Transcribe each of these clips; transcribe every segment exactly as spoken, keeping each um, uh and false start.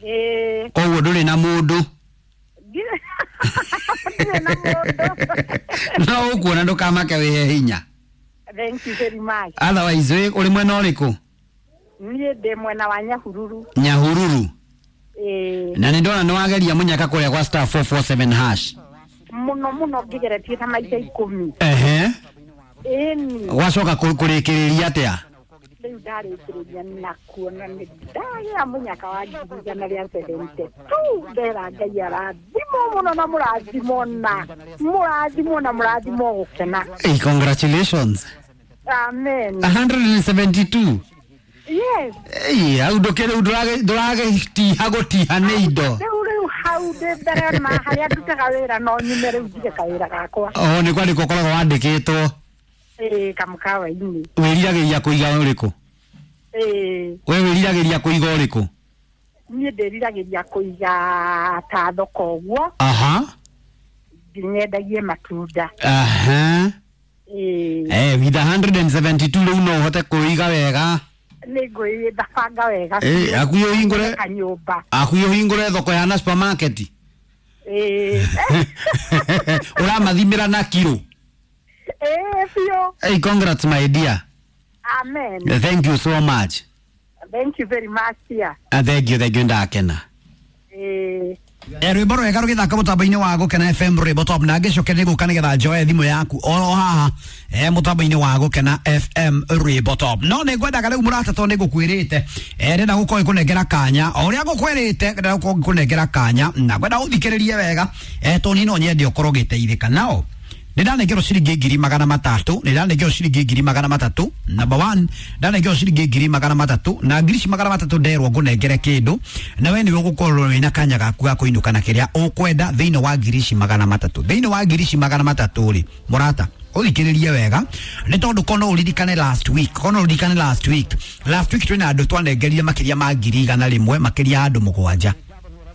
Ĩĩ. Koguo ndũrĩ na mũndũ. Ndirĩ ndirĩ na mũndũ. No ũkuona ndũkamake wĩhe hinya. Thank you very much. Otherwise wĩ ũrĩ mwena ũrĩkũ? Niĩ ndĩ mwena wa Nyahururu. Nyahururu. Ĩĩ. Na nĩ ndona nĩ wageria mũnyaka kũrĩa gwa star four four seven hash. Mũno mũno ngĩgeretie ta maita ikũmi. Ehe. Ĩni. Gwacoka kũrĩkĩrĩria atĩa? Rĩu ndarĩkĩrĩria na kuona nĩ ndagĩa mũnyaka wa ngiri igana rĩa seventy two. Ndera Ngai arathimwo mũno na mũrathimwo na mũrathimwo na mũrathimwo gũkena. Hey, congratulations. Amen. a hundred and seventy-two. Yes. Hey, hau ndũkĩrĩ ndũragĩtiha gũtiha nĩ indo. Rĩu rĩu hau ndĩ mbere ma harĩa ndutaga wĩra no nyume rĩu ndige kawĩra gakwa. O nĩ kwandĩkwo ũkoragwo wandĩkĩtwo. Ĩĩ, kamũkawa-inĩ. Wĩriragĩria kũiga ũrĩkũ? Ĩĩ. We wĩriragĩria kũiga ũrĩkũ? Niĩ ndĩriragĩria kũiga ta thoko ũguo. Aha. Nyendagie matunda. Aha. Ĩĩ. Eh, with a hundred and seventy-two rĩu no ũhote kũiga wega. Nĩ ngwĩbanga wega. Ĩĩ, hakuhĩ ũhingũre kanyũmba. Hakuhĩ ũhingũre thoko ya na supermarket. Ĩĩ. Ũramathimĩra na kiro. Ĩĩ, biũ. Hey, congrats my dear. Amen. Thank you so much. Thank you very much, dear. Uh, thank you, thank you, ndakena. Ĩĩ. Eh, rwĩmbo rwega rũgĩthaka mũtambo-inĩ wa Gũkena F M rwĩmbo top na ngĩcoke nĩ gũka nĩgetha njoe thimũ yaku oro haha eh, mũtambo-inĩ wa Gũkena F M rwĩmbo top. No nĩ ngwendaga rĩu mũrata tondũ nĩ ngũkwĩrĩte eh, ndĩrenda gũkorwo ngĩkũnengera kanya o ũrĩa ngũkwĩrĩte, ndĩrenda gũkorwo ngĩkũnengera kanya na ngwenda ũthikĩrĩrie wega eh, tondũ niĩ no nyende ũkorwo ũgĩteithĩka. Nao nĩ ndanengerwo ciringi ngiri magana matatũ, nĩ ndanengerwo ciringi ngiri magana matatũ. Number one, ndanengerwo ciringi ngiri magana matatũ na ngiri ici magana matatũ nderwo ngũnengere kĩndũ na we nĩwe ũgũkorwo wĩna kanya gaku ga kũinũka na kĩrĩa ũkwenda thĩinĩ wa ngiri ici magana matatũ. Thĩinĩ wa ngiri ici magana matatũ rĩ, mũrata ũthikĩrĩrie wega nĩ tondũ kono ũririkane last week, kono ũririkane last week, last week twĩna andũ twanengerire makĩria ma ngiri igana rĩmwe, makĩria ya andũ mũgwanja.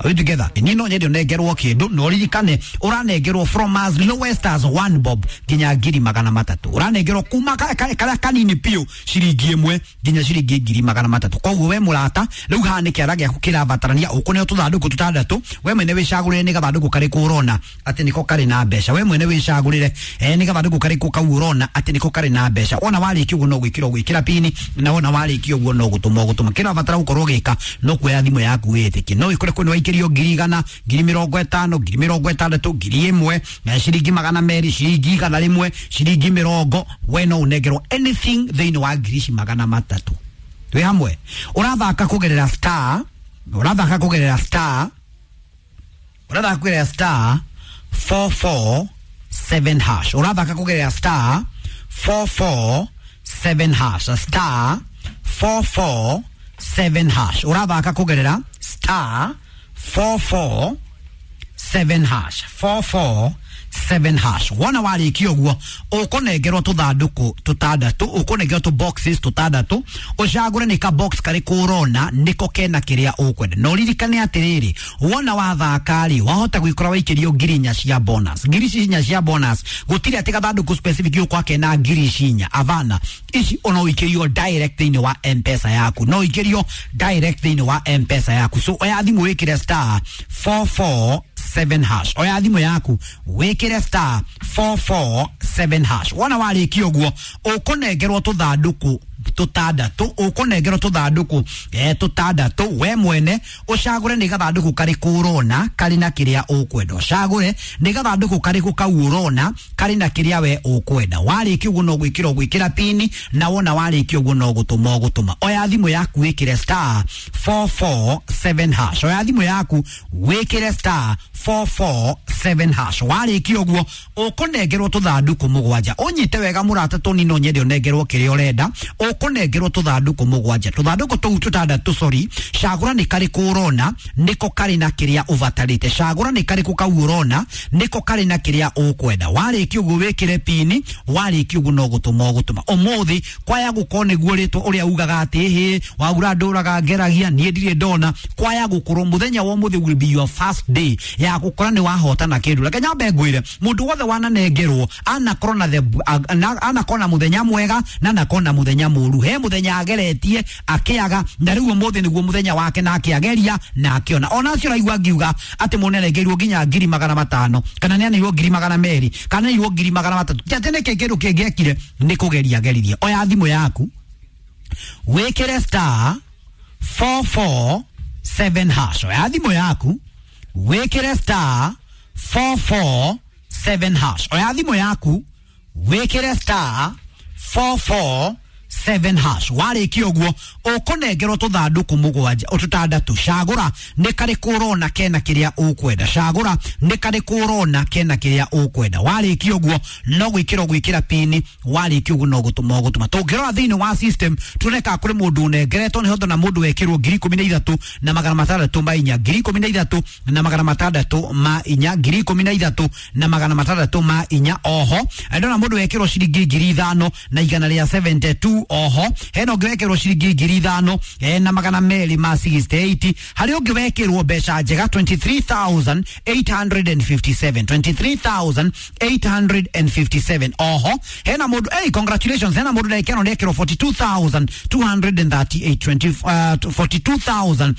Are we together? Niĩ no nyende ũnengerwo kĩndũ na ũririkane ũranengerwo from as lowest as one bob nginya ngiri magana matatũ. Ũranengerwo kuma ka-, ka-, karĩa kanini biũ ciringi ĩmwe nginya ciringi ngiri magana matatũ. Koguo we mũrata rĩu haha nĩ kĩara gĩaku kĩrabatarania ũkũneo tũthandũkũ tũtandatũ, we mwene wĩcagũrĩre nĩ gathandũkũ karĩkũ ũrona atĩ nĩko karĩ na mbeca. We mwene wĩcagũrĩre eh, nĩ gathandũkũ karĩkũ kau ũrona atĩ nĩko karĩ na mbeca. Wona warĩkia ũguo no gwĩkĩra ũgwĩkĩra pini na wona warĩkia ũguo no gũtũma ũgũtũma. Kĩrabatara gũkorwo ũgĩka no kuoya thimũ yaku wĩtĩkie. No wĩkore kwĩna waikĩrio ngiri igana, ngiri mĩrongo ĩtano, ngiri mĩrongo ĩtandatũ, ngiri ĩmwe, na ciringi magana merĩ, ciringi igana rĩmwe, ciringi mĩrongo. We no ũnengerwo anything thĩinĩ wa ngiri ici magana matatũ. Twĩ hamwe. Ũrathaka kũgerera star, ũrathaka kũgerera star, ũrathaka kũgerera star four four seven hash. Ũrathaka kũgerera star four four seven hash. Star four four seven hash. Ũrathaka kũgerera star four four seven hash. four four seven hash. Wona warĩkia ũguo ũkũnengerwo tũthandũkũ tũtandatũ, ũkũnengerwo tũ boxes tũtandatũ, ũcagũre nĩ ka box karĩkũ ũrona nĩko kena kĩrĩa ũkwenda. Na ũririkane atĩrĩrĩ, wona wathaka rĩ, wahota gwĩkora waikĩrio ngiri inya cia bonus. Ngiri ici inya cia bonus gũtirĩ atĩ gathandũkũ specific ũkwa kena ngiri ici inya, avana ici ona ũikĩrio direct thĩinĩ wa M-Pesa yaku, no ũikĩrio direct thĩinĩ wa M-Pesa yaku. So oya thimũ wĩkĩre star four four seven hash. Oya thimũ yaku wĩkĩre star four four seven hash. Wona warĩkia ũguo ũkũnengerwo tũthandũkũ tũtandatũ, ũkũnengerwo tũthandũkũ eh, tũtandatũ. We mwene ũcagũre nĩ gathandũkũ karĩkũ ũrona karĩ na kĩrĩa ũkwenda. Ũcagũre nĩ gathandũkũ karĩkũ kau ũrona karĩ na kĩrĩa we ũkwenda. Warĩkia ũguo no gwĩkĩra ũgwĩkĩra pini na wona warĩkia ũguo no gũtũma ũgũtũma. Oya thimũ yaku wĩkĩre star four four seven hash. Oya thimũ yaku wĩkĩre star four four seven hash. Warĩkia ũguo ũkũnengerwo tũthandũkũ mũgwanja. Ũnyite wega mũrata, tũni no nyende ũnengerwo kĩrĩa ũrenda. Ũkũnengerwo tũthandũkũ mũgwanja, tũthandũkũ tũu tũtandatũ, sorry. Cagũra nĩ karĩkũ ũrona nĩko karĩ na kĩrĩa ũbatarĩte. Cagũra nĩ karĩkũ kau ũrona nĩko karĩ na kĩrĩa ũkwenda. Warĩkia ũguo wĩkĩre pini, warĩkia ũguo no gũtũma ũgũtũma. Ũmũthĩ kwaya gũkorwo nĩguo rĩtwa ũrĩa ugaga atĩ hĩ waura ndũraga ngeragia niĩ ndirĩ ndona, kwaya gũkorwo mũthenya wa ũmũthĩ will be your first day ya ya gukora ni wahotana kindu. Reke nyambe ngwire mundu wothe wananengerwo anakorwo na the anakorwo na muthenya mwega na anakorwo na muthenya muru. He muthenya ageretie akiaga na riu umuthi niguo muthenya wake na akiageria na akiona. Ona acio raigua ngiuga ati munenengeirwo nginya ngiri magana matano kana nĩ ngiri magana meri kana nĩ ngiri magana matatu. Ti atĩ nĩkĩ kĩndũ kĩngĩekire nĩ kũgeria geririe. Oya thimũ yaku wĩkĩre star four four seven hash. Oya thimũ yaku wĩkĩre star four four seven hash. Oya thimũ yaku wĩkĩre star four four seven hash. Warĩkia ũguo ũkũnengerwo tũthandũkũ mũgwanja tũtandatũ. Cagũra nĩ karĩkũ ũrona kena kĩrĩa ũkwenda. Cagũra nĩ karĩkũ ũrona kena kĩrĩa ũkwenda. Warĩkia ũguo no gwĩkĩra ũgwĩkĩra pini. Warĩkia ũguo no gũtũma ũgũtũma. Tũngĩrora thĩinĩ wa system tuone kana kũrĩ mũndũ ũnengeretwo nĩ hondo na mũndũ wekĩrwo ngiri ikũmi na ithatũ na magana matandatũ ma inya, ngiri ikũmi na ithatũ na magana matandatũ ma inya, ngiri ikũmi na ithatũ na magana matandatũ ma inya. Oho ndona mũndũ wekĩrwo ciringi ngiri ithano na igana rĩa seventy two. Oho hena ũngĩ wekĩrwo ciringi ngiri ithano na magana merĩ ma sixty eight. Harĩ ũngĩ wekĩrwo mbeca njega twenty three thousand eight hundred and fifty seven, twenty three thousand eight hundred and fifty seven. Oho hena mũndũ, hey, congratulations, hena mũndũ ndekĩrwo ndekĩrwo forty two thousand two hundred and thirty eight, forty two thousand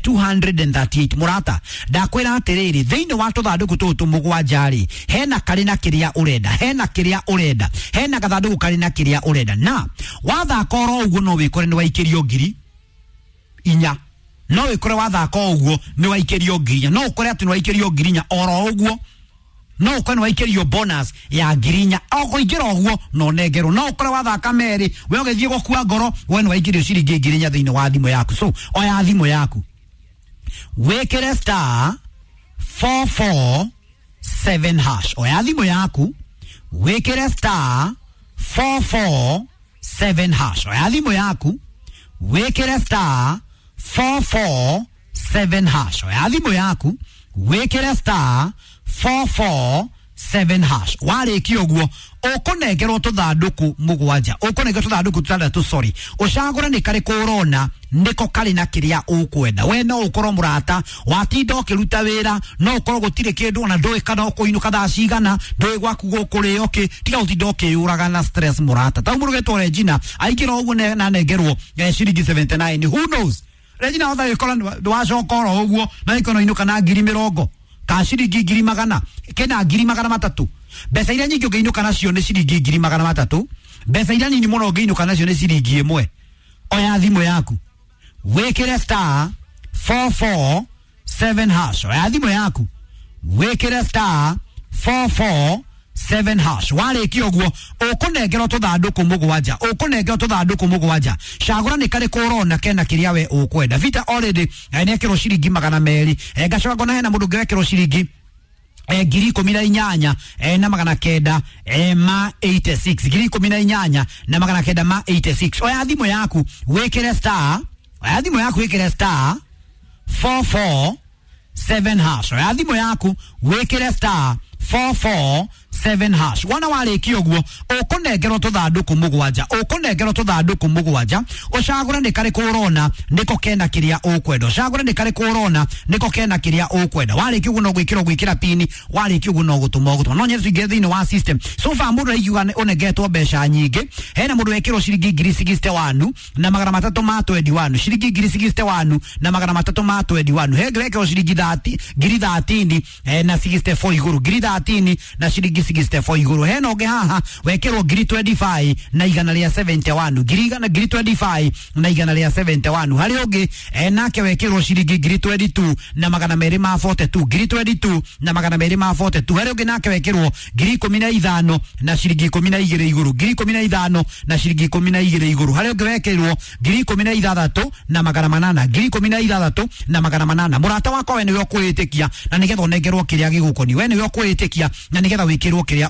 two hundred and thirty eight. Mũrata ndakwĩra atĩrĩrĩ, thĩinĩ wa tũthandũkũ tũtũ mũgwanja rĩ, hena karĩ na kĩrĩa ũrenda, hena kĩrĩa ũrenda, hena gathandũkũ karĩ na kĩrĩa ũrenda. Na wathaka oro ũguo no wĩkore nĩ waikĩrio ngiri inya, no wĩkore wathaka ũguo nĩ waikĩrio ngiri inya, no ũkore atĩ nĩ waikĩrio ngiri inya oro ũguo, no ũkore nĩ waikĩrio bonus ya ngiri inya o kũingĩra ũguo no nengerwo. No ũkore wathaka merĩ we ũgĩthiĩ gũkua ngoro we nĩ waikĩrio ciringi ngiri inya thĩinĩ wa thimũ yaku. So oya thimũ yaku wĩkĩre star four four seven hash. Oya thimũ yaku wĩkĩre star four four seven hash. Oya thimũ yaku wĩkĩre star four four seven hash. Oya thimũ yaku wĩkĩre star four four seven hash. Warĩkia ũguo ũkũnengerwo tũthandũkũ mũgwanja, ũkũnengerwo tũthandũkũ tũtandatũ, sorry. Ũcagũre nĩ karĩkũ ũrona nĩko karĩ na kĩrĩa ũkwenda. We no ũkorwo mũrata watinda ũkĩruta wĩra, no ũkorwo gũtirĩ kĩndũ ona ndũĩ kana ũkũinũka thaa cigana, ndũĩ gwaku gũkũrĩo kĩ, tiga gũtinda ũkĩyũraga na stress mũrata. Ta mũndũ ũgetwo Regina aingĩra ũguo na anengerwo ciringi seventy nine. Who knows, Regina hota gĩkora ndwacoka oro ũguo na ĩkono inũka na ngiri mĩrongo ka ciringi ngiri magana kena ngiri magana matatu. Mbeca iria nyingĩ ũngĩinũka nacio nĩ ciringi ngiri magana matatu, mbeca iria nini mũno ũngĩinũka nacio nĩ ciringi ĩmwe. Oya thimũ yaku wĩkĩre star four four seven hash. Oya thimũ yaku wĩkĩre star four four seven hash. Warĩkia ũguo ũkũnengerwo tũthandũkũ mũgwanja, ũkũnengerwo tũthandũkũ mũgwanja. Cagũra nĩ karĩkũ ũrona kena kĩrĩa we ũkwenda. Vita already nĩekĩrwo ciringi magana merĩ, ngacoka ngona hena mũndũ ũngĩ wekĩrwo ciringi ngiri ikũmi na inyanya na magana kenda ma eighty six, ngiri ikũmi na inyanya na magana kenda ma eighty six. Oya thimũ yaku wĩkĩre star, oya thimũ yaku wĩkĩre star four four seven hash. Oya thimũ yaku wĩkĩre star four four seven hash. Wona warĩkia ũguo ũkũnengerwo tũthandũkũ mũgwanja, ũkũnengerwo tũthandũkũ mũgwanja. Ũcagũre nĩ karĩkũ ũrona nĩko kena kĩrĩa ũkwenda. Ũcagũre nĩ karĩkũ ũrona nĩko kena kĩrĩa ũkwenda. Warĩkia ũguo no gwĩkĩra ũgwĩkĩra pini, warĩkia ũguo no gũtũma ũgũtũma. No nyende tũingĩre thĩinĩ wa system. So far mũndũ araigua ũnengetwo mbeca nyingĩ. Hena mũndũ wekĩrwo ciringi ngiri sixty one na magana matatũ ma twenty one, ciringi ngiri sixty one na magana matatũ ma twenty one. He wekĩrwo ciringi thirty, ngiri thirteen na sixty four igũrũ, ngiri thirteen na ciringi sixty four igũrũ. Hena ũngĩ haha wekĩrwo ngiri twenty five na igana rĩa seventy one, ngiri igana ngiri twenty five na igana rĩa seventy one. Harĩ ũngĩ nake wekĩrwo ciringi ngiri twenty two na magana merĩ ma forty two, ngiri twenty two na magana merĩ ma forty two. Harĩ ũngĩ nake wekĩrwo ngiri ikũmi na ithano na ciringi ikũmi na igĩrĩ igũrũ, ngiri ikũmi na ithano na ciringi ikũmi na igĩrĩ igũrũ. Harĩ ũngĩ wekĩrwo ngiri ikũmi na ithathatũ na magana manana, ngiri ikũmi na ithathatũ na magana manana. Mũrata wakwa we nĩwe ũkwĩĩtĩkia na nĩgetha ũnengerwo kĩrĩa gĩgũkoniĩ, we nĩwe ũkwĩĩtĩkia na nĩgetha wĩkĩrwo kĩrĩa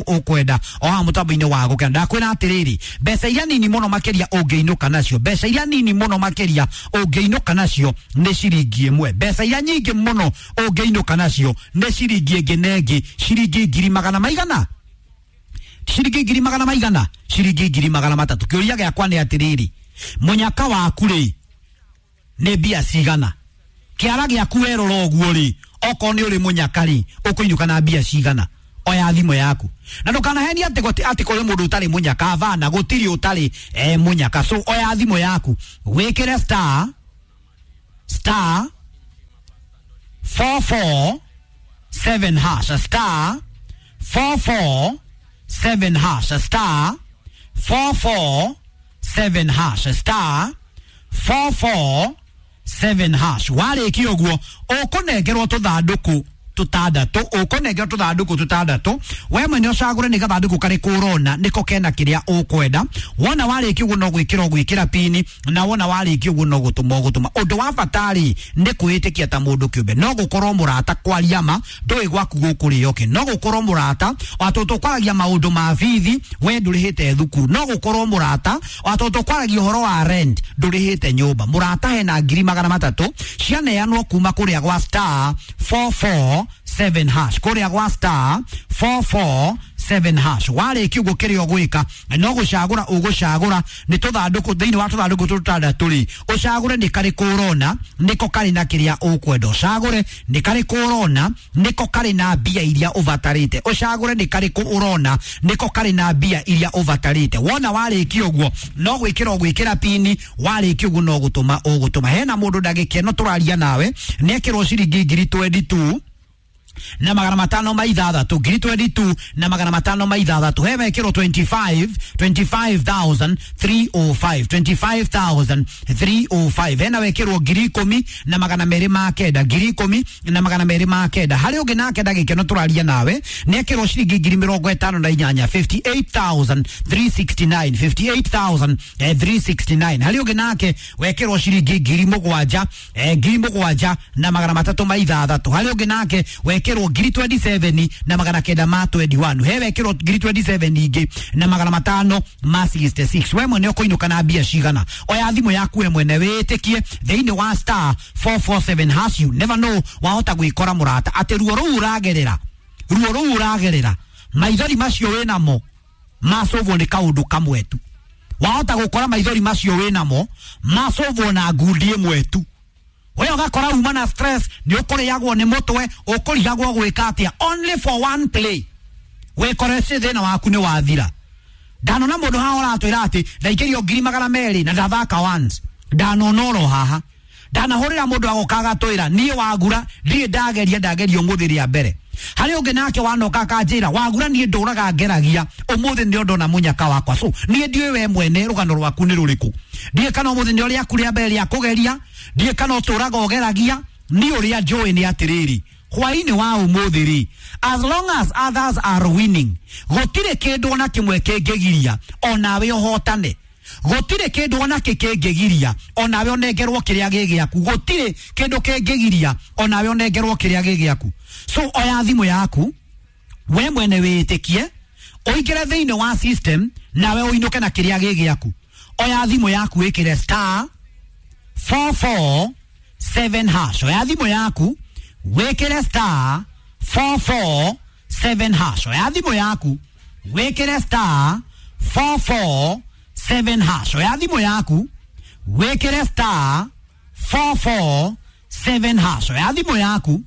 ũkwenda o haha mũtambo-inĩ wa gũkena. Ndakwĩra atĩrĩrĩ, mbeca iria nini mũno makĩria ũngĩinũka nacio, mbeca iria nini mũno makĩria ũngĩinũka nacio nĩ ciringi ĩmwe. Mbeca iria nyingĩ mũno ũngĩinũka nacio nĩ ciringi ĩngĩ na ĩngĩ, ciringi ngiri magana maigana, ciringi ngiri magana maigana, ciringi ngiri magana matatũ. Kĩũria gĩakwa nĩ atĩrĩrĩ, mũnyaka waku rĩ nĩ mbia cigana? Kĩara gĩaku werora ũguo rĩ, Okorwo nĩ ũrĩ mũnyaka rĩ, ũkũinũka na mbia cigana? Oya thimũ yaku na ndũkanahenie atĩ gũti atĩ kũrĩ mũndũ ũtarĩ mũnyaka. Bana, gũtirĩ ũtarĩ eh, mũnyaka. So oya thimũ yaku wĩkĩre star star four four seven hash, star four four seven hash, star four four seven hash, star four four seven hash. Warĩkia ũguo ũkũnengerwo tũthandũkũ tũtandatũ, ũkũnengerwo tũthandũkũ tũtandatũ. We mwene ũcagũre nĩ gathandũkũ karĩkũ ũrona nĩko kena kĩrĩa ũkwenda. Wona warĩkia ũguo no gwĩkĩra ũgwĩkĩra pini, na wona warĩkia ũguo no gũtũma ũgũtũma. Ũndũ wa bata rĩ nĩ kwĩĩtĩkia ta mũndũ kĩũmbe. No gũkorwo mũrata kwaria ma ndũĩ gwaku gũkũrĩo kĩ, no gũkorwo mũrata watũ tũkwaragia maũndũ ma bithi we ndũrĩhĩte thukuru, no gũkorwo mũrata watũ tũkwaragia ũhoro wa rent ndũrĩhĩte nyũmba. Mũrata hena ngiri magana matatũ cianeanwo kuma kũrĩa gwa star four four seven hash, kũrĩa gwa star four four seven hash. Warĩkia ũguo kĩrĩa ũgwĩka no gũcagũra ũgũcagũra nĩ tũthandũkũ thĩinĩ wa tũthandũkũ tũtandatũ rĩ, ũcagũre nĩ karĩkũ ũrona nĩko karĩ na kĩrĩa ũkwenda, ũcagũre nĩ karĩkũ ũrona nĩko karĩ na mbia iria ũbatarĩte, ũcagũre nĩ karĩkũ ũrona nĩko karĩ na mbia iria ũbatarĩte. Wona warĩkia ũguo no gwĩkĩra ũgwĩkĩra pini, warĩkia ũguo no gũtũma ũgũtũma. Hena mũndũ ndagĩka ĩno tũraria nawe nĩekĩrwo ciringi ngiri twenty two na magana matano ma ithathatũ, ngiri twenty two na magana matano ma ithathatũ. He wekĩrwo twenty five, twenty five thousand three oh five, twenty five thousand three oh five. Hena wekĩrwo ngiri ikũmi na magana merĩ ma kenda, ngiri ikũmi na magana merĩ ma kenda. Harĩ ũngĩ nake ndagĩka ĩno tũraria nawe nĩekĩrwo ciringi ngiri mĩrongo ĩtano na inyanya, fifty eight thousand three sixty nine, fifty eight thousand three sixty nine. Harĩ ũngĩ nake wekĩrwo ciringi ngiri mũgwanja, eh, ngiri mũgwanja na magana matatũ ma ithathatũ. Harĩ ũngĩ nake wekĩrwo ngiri twenty seven na magana kenda ma twenty one. He wekĩrwo ngiri twenty seven ingĩ na magana matano ma sixty six. We mwene ũkũinũka na mbia cigana? Oya thimũ yaku we mwene wĩtĩkie thĩinĩ wa star four four seven hash. You never know, wahota gwĩkora mũrata atĩ ruo rũu ũragerera, ruo rũu ũragerera, maithori macio wĩnamo macũvwo nĩ kaũndũ kamwe tu. Wahota gũkora maithori macio wĩnamo macũvwo na ngundi ĩmwe tu. We ũgakora uma na stress, nĩ ũkũrĩagwo nĩ mũtwe, ũkũrigagwo gwĩka atĩa, only for one play wĩkore thĩna waku nĩ wathira. Ndanona mũndũ haha ũratwĩra atĩ ndaikĩrio ngiri magana merĩ na ndathaka once. Ndanona oro haha ndanahũrĩra mũndũ agoka agatwĩra niĩ wagura ndirĩ ndageria, ndageria ũmũthĩ rĩa mbere. Harĩ ũngĩ nake wanoka akanjĩra wagura niĩ ndũraga ngeragia ũmũthĩ nĩ ndona mũnyaka wakwa. So niĩ ndiũĩ we mwene rũgano rwaku nĩ rũrĩkũ, ndiũĩ kana ũmũthĩ nĩ rĩaku rĩa mbere rĩa kũgeria, ndiũĩ kana ũtũraga ũgeragia. Niĩ ũrĩa njũĩ nĩ atĩrĩrĩ, hwaĩ-inĩ wa ũmũthĩ rĩ, as long as others are winning, gũtirĩ kĩndũ ona kĩmwe kĩngĩgiria onawe ũhotane. Gũtirĩ kĩndũ ona kĩ kĩngĩgiria onawe ũnengerwo kĩrĩa gĩ gĩaku. Gũtirĩ kĩndũ kĩngĩgiria onawe ũnengerwo kĩrĩa gĩ gĩaku. So oya thimũ yaku we mwene wĩtĩkie, ũingĩre thĩinĩ wa system nawe ũinũke na kĩrĩa gĩ gĩaku. Oya thimũ yaku wĩkĩre star four four seven hash. Oya thimũ yaku wĩkĩre star four four seven hash. Oya thimũ yaku wĩkĩre star four four seven hash. Oya thimũ yaku wĩkĩre star four four seven hash. Oya thimũ yaku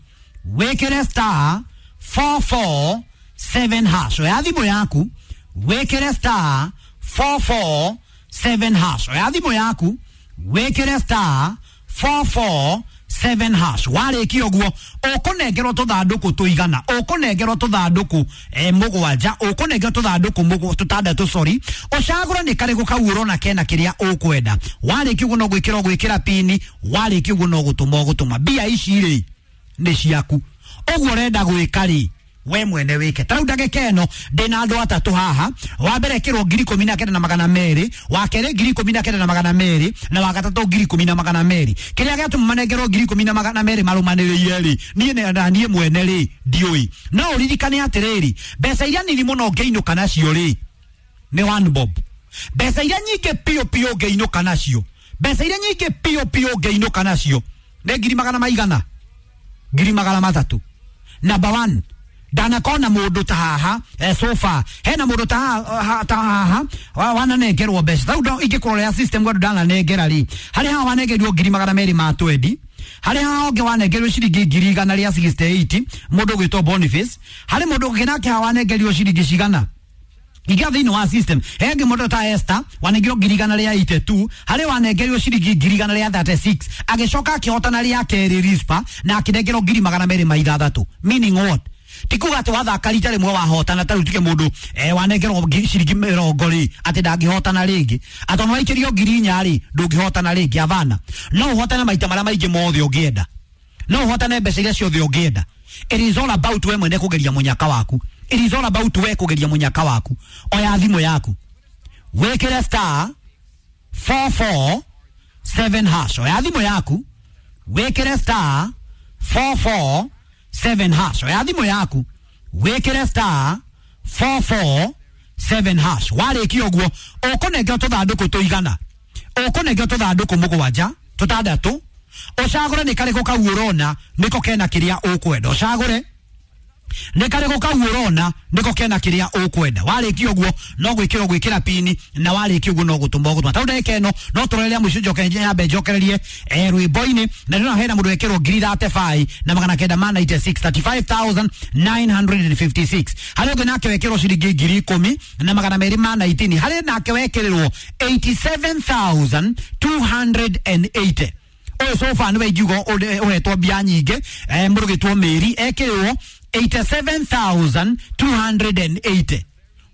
wĩkĩre star four four seven hash. Oya thimũ yaku wĩkĩre star four four seven hash. Oya thimũ yaku wĩkĩre star four four seven hash. Warĩkia ũguo ũkũnengerwo tũthandũkũ tũigana, ũkũnengerwo tũthandũkũ eh, mũgwanja, ũkũnengerwo tũthandũkũ mũgw-, tũtandatũ, sorry. Ũcagũre nĩ karĩkũ kau ũrona kena kĩrĩa ũkwenda. Warĩkia ũguo no gwĩkĩra ũgwĩkĩra pini, warĩkia ũguo no gũtũma ũgũtũma. Mbia ici rĩ nĩ ciaku, ũguo ũrenda gwĩka rĩ we mwene wike. Ta rĩu ndagĩka ĩno ndĩna andũ atatũ haha. Wa mbere ekĩrwo ngiri ikũmi na kenda na magana merĩ, wa kerĩ ngiri ikũmi na kenda na magana merĩ, na wa gatatũ ngiri ikũmi na magana merĩ. Kĩrĩa gĩatũma manengerwo ngiri ikũmi na magana merĩ marũmanĩrĩire rĩ, niĩ nĩ-, na niĩ mwene rĩ ndiũĩ. No ũririkane atĩrĩrĩ, mbeca iria nini mũno ũngĩinũka nacio rĩ nĩ one bob. Mbeca iria nyingĩ piũ piũ ũngĩinũka nacio, mbeca iria nyingĩ piũ piũ ũngĩinũka nacio nĩ ngiri magana maigana, ngiri magana matatũ. Number one, ndanakona mũndũ ta haha, eh, so far hena mũndũ ta haha, ta haha wa-, wananengerwo mbeca. Rĩu ndo-, ingĩkũrorera system gwandũ ndananengera rĩ, harĩ haha wanengerirwo ngiri magana merĩ ma twendi, Harĩ haha ũngĩ wanengerio ciringi ngiri igana rĩa sixty-eight, mũndũ ũgwĩtwo Boniface. Harĩ mũndũ ũngĩ nake haha wanengerio ciringi cigana? Iga thĩinĩ wa system hengĩ mũndũ ta Esther wanengerio ngiri igana rĩa eighty-two, harĩ wanengerio ciringi ngiri igana rĩa thirty-six, agĩcoka akĩhotana rĩa kerĩ Rispa na akĩnengerwo ngiri magana merĩ ma ithathatũ. Meaning what? Ti kuga atĩ wathaka rita rĩmwe wahotana, ta rĩu tuge mũndũ eh, wanengerwo ciringi mĩrongo rĩ atĩ ndangĩhotana rĩngĩ, atĩ ona waikĩrio ngiri inya rĩ ndũngĩhotana rĩngĩ. Avana, no ũhotane maita marĩa maingĩ mothe ũngĩenda, no ũhotane mbeca iria ciothe ũngĩenda. It is all about we mwene kũgeria mũnyaka waku. It is all about we kũgeria mũnyaka waku. Oya thimũ yaku wĩkĩre star four four seven hash. Oya thimũ yaku wĩkĩre star four four seven hash. Oya thimũ yaku wĩkĩre star four four seven hash. Warĩkia ũguo ũkũnengerwo tũthandũkũ tũigana, ũkũnengerwo tũthandũkũ mũgwanja tũtandatũ, ũcagũre nĩ karĩkũ kau ũrona nĩko kena kĩrĩa ũkwenda. Ũcagũre nĩ karĩkũ kau ũrona nĩko kena kĩrĩa ũkwenda. Warĩkia ũguo no gwĩkĩra gwĩkĩra pini, na warĩkia ũguo no gũtũma ũgũtũma. Tondũ ndagĩka ĩno no tũroreria mũico, njoke nyambe njokererie eh, rwĩmbo-inĩ. Na ndĩrona hena mũndũ wekĩrwo ngiri thirty-five na magana kenda ma ninety-six, thirty-five thousand nine hundred fifty-six. Harĩ ũngĩ nake wekĩrwo ciringi ngiri ikũmi na magana merĩ ma nineteen. Harĩ nake wekĩrĩrwo eighty-seven thousand two hundred eighty. Ũyũ so far nĩwe ingiuga ũhetwo mbia nyingĩ, eh, mũndũ ũgĩtwo Mary ekĩrĩrwo eighty-seven thousand two hundred eighty.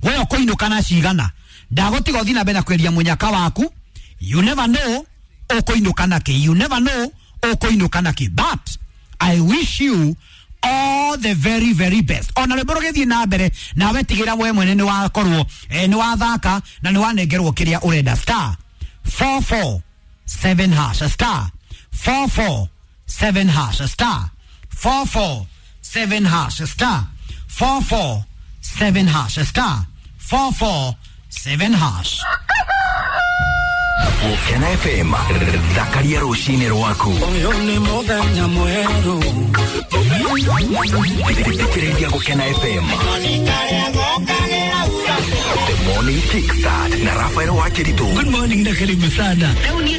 We ũkũinũka na cigana? Ndagũtiga ũthiĩ na mbere na kweria mũnyaka waku. You never know ũkũinũka na kĩ. You never know ũkũinũka na kĩ. But I wish you all the very very best. Ona rwĩmbo rũgĩthiĩ na mbere, nawe tigĩra we mwene nĩ wakorwo, eh, nĩ wathaka na nĩ wanengerwo kĩrĩa ũrenda. Star four four seven hash, star four four seven hash, star four four seven hash, star four four seven hash, star four four seven hash. Gũkena F M, thakaria rũcinĩ rwaku. Ũyũ nĩ mũthenya mwerũ. Thikĩrĩria Gũkena F M. The Morning Kickstart na Rafael Wakiritu. Good morning na karibu sana. Rĩu niĩ